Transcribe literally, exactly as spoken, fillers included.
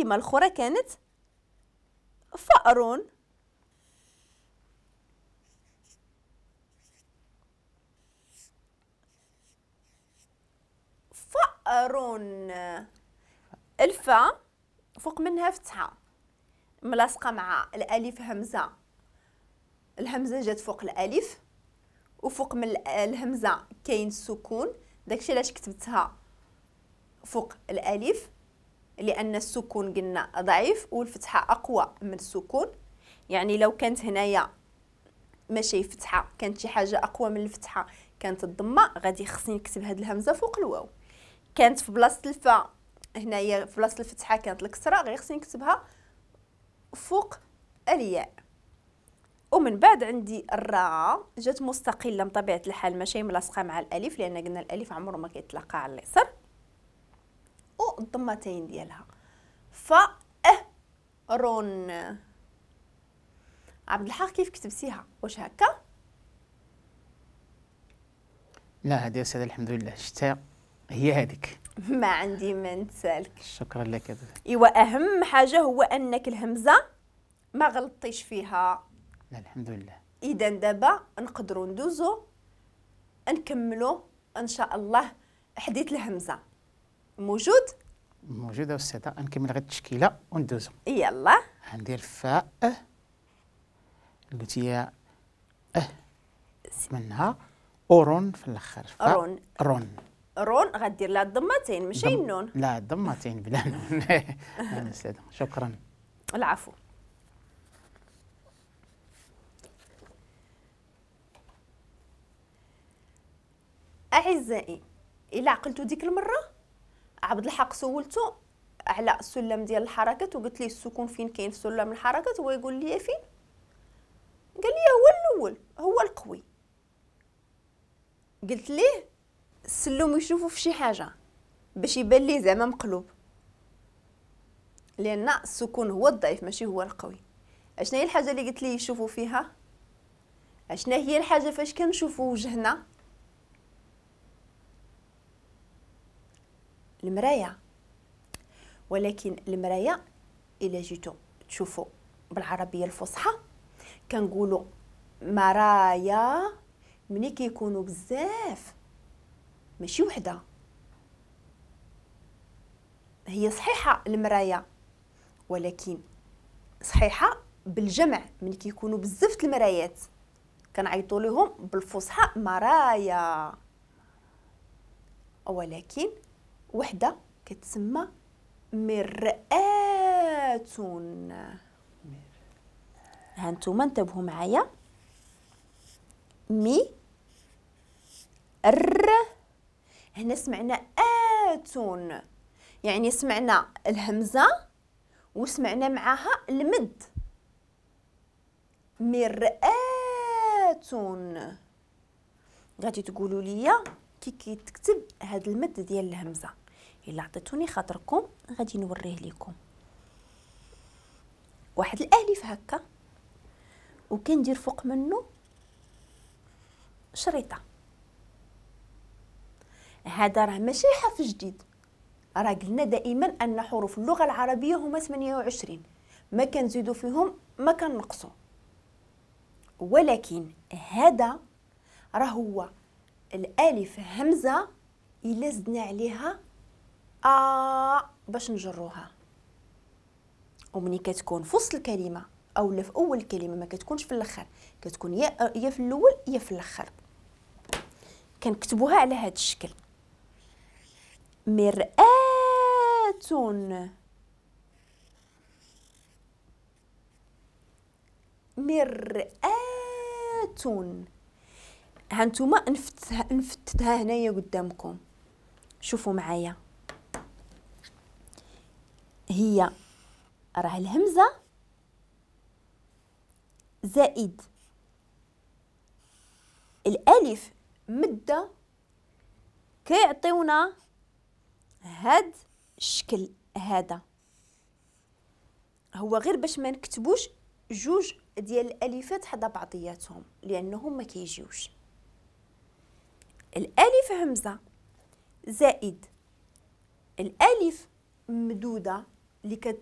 الاخرى كانت فأر. فأر، الفاء فوق منها فتحة ملاصقة مع الألف همزة، الهمزة جات فوق الألف وفوق من الهمزة كاين السكون، داكشي علاش كتبتها فوق الألف، لأن السكون قلنا ضعيف والفتحة أقوى من السكون. يعني لو كانت هنايا ماشي فتحة، كانت شي حاجة أقوى من الفتحة كانت الضمة، غادي خصني نكتب هاد الهمزة فوق الواو. كانت في بلاصة الفاء هنايا في بلاصة الفتحة كانت الكسرة، غير خصني نكتبها فوق الياء. ومن بعد عندي الراء جات مستقلة بطبيعة الحال، ماشي ملاصقة مع الألف، لأن قلنا الألف عمره ما كيتلاقى على اليسار، والضمتين ديالها فأرون. عبد الحق كيف كتبتيها؟ واش هكا؟ لا هذه أستاذة الحمد لله شتا هي هذيك، ما عندي ما نتسالك. شكرا لك. ايوا اهم حاجة هو انك الهمزة ما غلطتيش فيها. لا الحمد لله. اذا دابا نقدروا ندوزو نكملوا ان شاء الله حديث الهمزة. موجود؟ موجودة أستاذة، نكمل غير التشكيلة وندوزو. يلا. غندير فاء قلتي يا اه منها اورون في الاخر. رون رون رون غدير لها الضمتين ماشي النون. لا الضمتين بلا نون. نعم أستاذة شكرا. العفو. أعزائي إلا عقلتو ديك المرة عبد الحق سولتو على السلم ديال الحركات وقلت ليه السكون فين كاين في سلم الحركات، هو يقول لي فين؟ قال لي هو الأول هو القوي. قلت ليه السلم يشوفوا في شي حاجة باش يبان ليه زعما مقلوب، لأن السكون هو الضعيف ماشي هو القوي. اشنا هي الحاجة اللي قلت ليه يشوفوا فيها؟ اشنا هي الحاجة فاش كنشوفوا وجهنا؟ المراية. ولكن المراية الا جيتو تشوفوا بالعربية الفصحى كنقولوا مرايا ملي كيكونوا بزاف ماشي وحده. هي صحيحه المراية ولكن صحيحه بالجمع، ملي كيكونوا بزاف المرايات كنعيطوا لهم بالفصحى مرايا، ولكن وحده كتسمى مرآة. ها نتوما انتبهوا معايا، مي ر، هنا سمعنا آتون، يعني سمعنا الهمزة وسمعنا معاها المد، مرآة. غادي تقولوا لي كي كيتكتب هاد المد ديال الهمزة؟ الا عطيتوني خاطركم غادي نوريه لكم. واحد الالف هكا وكندير فوق منه شريطه. هذا راه ماشي حرف جديد، راه قلنا دائما ان حروف اللغة العربية هما ثمانية وعشرين، ما كنزيدو فيهم ما كنقصو، ولكن هذا راه هو الالف همزه الا زدنا عليها ا باش نجروها، ومني كتكون في وسط الكلمة او في اول الكلمة ما كتكونش في الاخر، كتكون يا يا في الاول يا في الاخر. كنكتبوها على هذا الشكل، مرآة. مرآة. هانتوما نفتتها نفتتها هنايا قدامكم، شوفوا معايا. هي راه الهمزة زائد الالف مده كيعطيونا هاد الشكل. هذا هو غير باش ما نكتبوش جوج ديال الالفات حدا بعضياتهم لانهم ما كيجيوش. الالف همزه زائد الالف مدوده اللي كت